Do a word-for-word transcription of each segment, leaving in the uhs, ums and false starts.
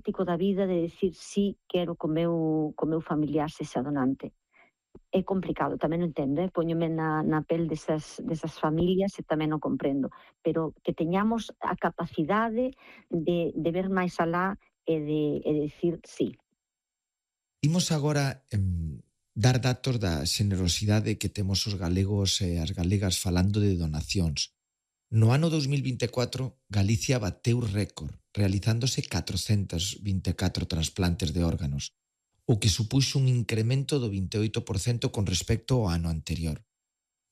práctico da vida de decir sí, quero que o meu, que o meu familiar sexa donante. É complicado, tamén o entendo, eh? Póñome na, na pel desas, desas familias e tamén o comprendo, pero que teñamos a capacidade de, de ver máis alá e de, e de decir sí. Imos agora em, dar datos da xenerosidade que temos os galegos e as galegas falando de donacións. No ano dos mil vinte e catro, Galicia bateu récord, realizándose catrocentos vinte e catro trasplantes de órganos, o que supuxo un incremento do vinte e oito por cento con respecto ao ano anterior.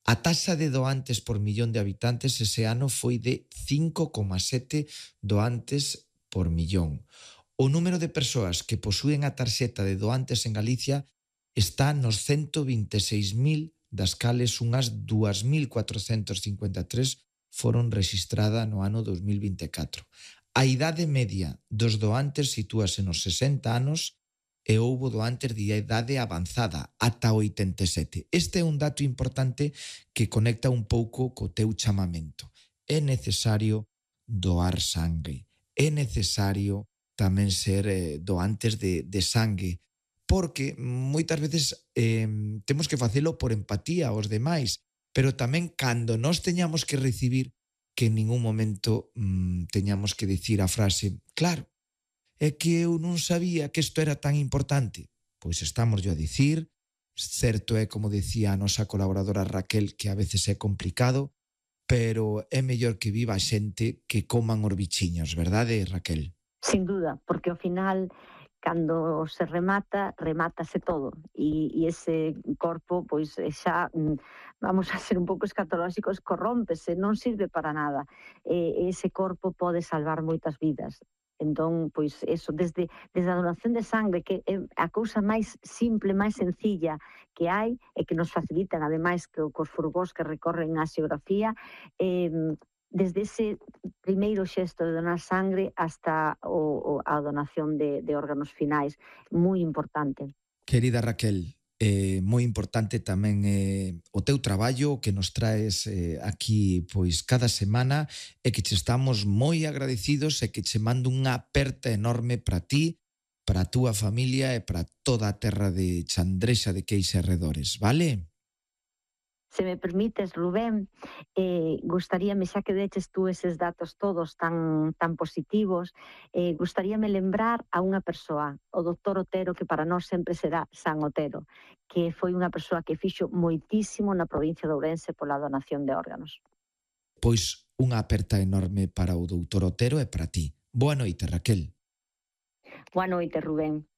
A taxa de doantes por millón de habitantes ese ano foi de cinco coma sete doantes por millón. O número de persoas que posúen a tarxeta de doantes en Galicia está nos ciento vinte e seis mil, das cales unhas dúas mil cuatrocentos cincuenta e tres foron rexistradas no ano dos mil vinte e catro. A idade media dos doantes sitúase nos sesenta anos e houbo doantes de idade avanzada, ata oitenta e sete. Este é un dato importante que conecta un pouco co teu chamamento. É necesario doar sangue. É necesario tamén ser eh, doantes de, de sangue, porque moitas veces eh, temos que facelo por empatía aos demais, pero tamén cando nós teñamos que recibir, que en ningún momento mm, teñamos que dicir a frase, claro, é que eu non sabía que isto era tan importante. Pois estamos yo a dicir, certo é, como decía a nosa colaboradora Raquel, que a veces é complicado, pero é mellor que viva a xente que coman os bichiños, verdade, Raquel? Sin duda, porque ao final, cando se remata, remátase todo, e, e ese corpo, pois xa, vamos a ser un pouco escatolóxicos, corrómpese, non sirve para nada. E ese corpo pode salvar moitas vidas. Entón, pois, eso, desde, desde a donación de sangre, que é a cousa máis simple, máis sencilla que hai, e que nos facilitan, ademais, que cos furgós que recorren a xeografía, eh, desde ese primeiro xesto de donar sangre hasta o, o, a donación de, de órganos finais, moi importante. Querida Raquel, eh, moi importante tamén eh, o teu traballo que nos traes eh, aquí pois cada semana e que che estamos moi agradecidos e que che mando unha aperta enorme para ti, para a túa familia e para toda a terra de Chandrexa de Queixa e arredores, vale? Se me permites, Rubén, eh, gustaríame, xa que deches tú eses datos todos tan, tan positivos, eh, gustaríame lembrar a unha persoa, o doutor Otero, que para nós sempre será San Otero, que foi unha persoa que fixo moitísimo na provincia de Ourense pola donación de órganos. Pois unha aperta enorme para o doutor Otero e para ti. Boa noite, Raquel. Boa noite, Rubén.